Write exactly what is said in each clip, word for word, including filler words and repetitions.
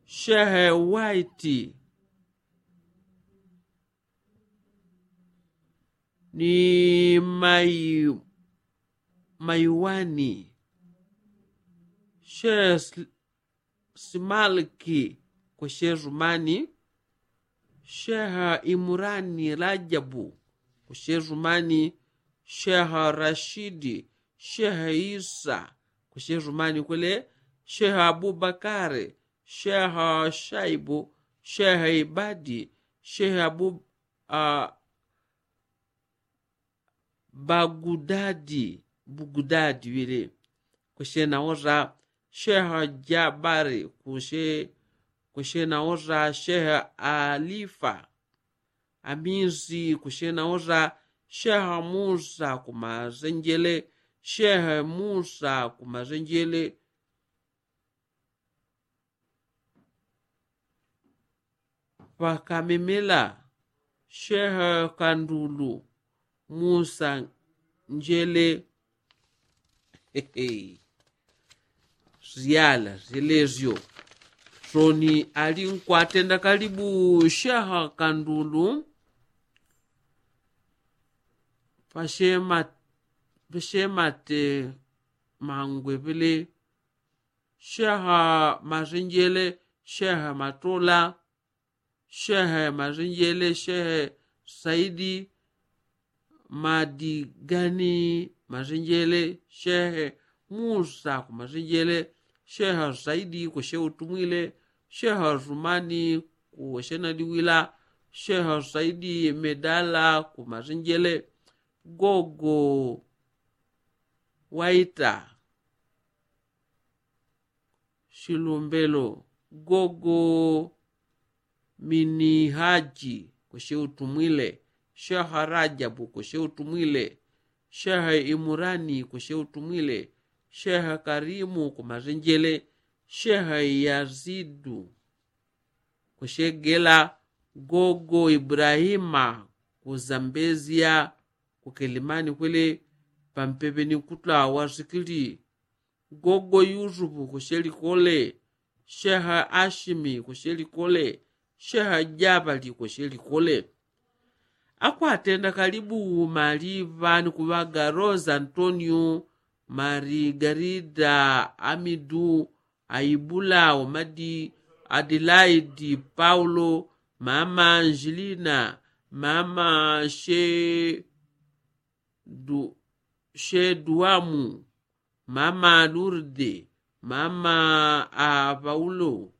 shehe waiti ni mai maiwani, shehe simalki kweshe rumani, shehe imurani rajabu kweshe rumani, shehe rashidi, shehe isa kweshe rumani kwele, shehe abubakare, shehe shaibu, shehe ibadi, shehe abu bagudadi, bugudadi wile, kweshe nawoza shehe jabari, kweshe nawoza shehe alifa amisi, kweshe nawoza shehe musa kumazenjele, shehe musa kumazenjele. Pakamemela shehe kandulu musa njele. Zyala zyelezyo soni ali nkwatenda kalibu shehe kandulu. Pashemate mangwepele shehe mazenjele, shehe matola, shehe mazenjele, shehe saidi madigani mazenjele, shehe musa kumazenjele, shehe saidi kweshe utumwile, shehe rumani kweshe naliwila, shehe saidi medala kumazenjele, gogo waita shilumbelo, gogo minihaji kweshe utumwile, shehe rajabu kweshe utumwile, shehe imurani kweshe utumwile, shehe karimu kumazenjele, shehe yazidu kweshe gela, gogo ibrahima kuzambezia kukelimani kwele, pampepe ni kutula wasikili, gogo yusufu kweshe likole, shehe ashimi kweshe likole, shehe jabali kweshe likole. Akwatenda kalibu maliva ni kuŵaga rosa antonio, marigarida, amidu, aibula, omadi, adilaidi, paulo, mama anjilina, mama sheduamu, mama lurde, mama apaulo,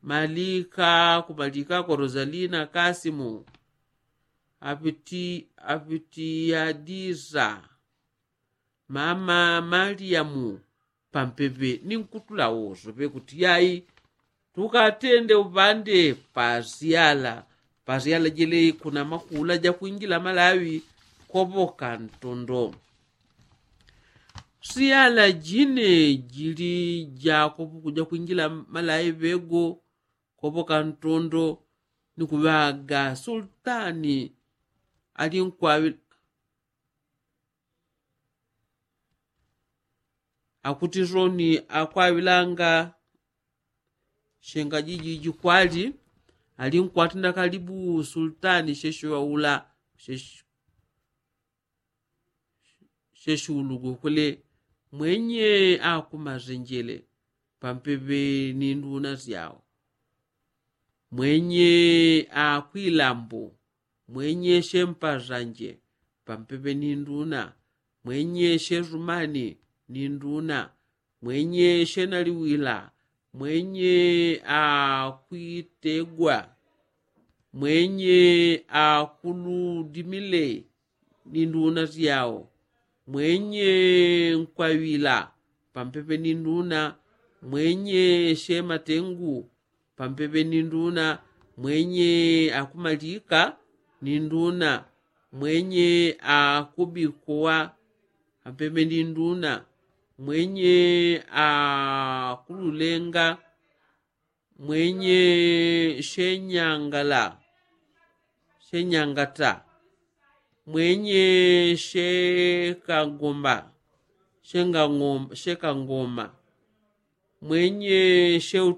malika kumalika kwa rosalina kasimu, apiti apitiyadisa, mama maliamu, pampepe ni nkutula woso pekuti yai tukatende upande pasyala. Pasyala jele kuna makula jakwingila malawi kopoka ntondo. Syala jine jili jakopo kujakwingila malawi pego kopoka ntondo, ni kuŵaga sultani ali nkwaŵi akuti soni akwaŵilanga shenga jiji jikwali ali nkwatenda kalibu sultani sheshiŵaula sheshiulugu kule, mwenye akumazenjele pampepe ni nduna syao, mwenye akwilambu, mwenye shempazanje pampepe ni nduna, mwenye shesumani ni nduna, mwenye shenaliwila, mwenye akwitegwa, mwenye akuludimile ni nduna syao, mwenye nkwaŵila pampepe ni nduna, mwenye shematengu pampepe ni nduna, mwenye akumalika ni nduna, mwenye akubikowa pampepe ni nduna, mwenye akululenga, mwenye shenyangala shenyangata, mwenye shekangoma shengangoma shekangoma, mwenye sheutu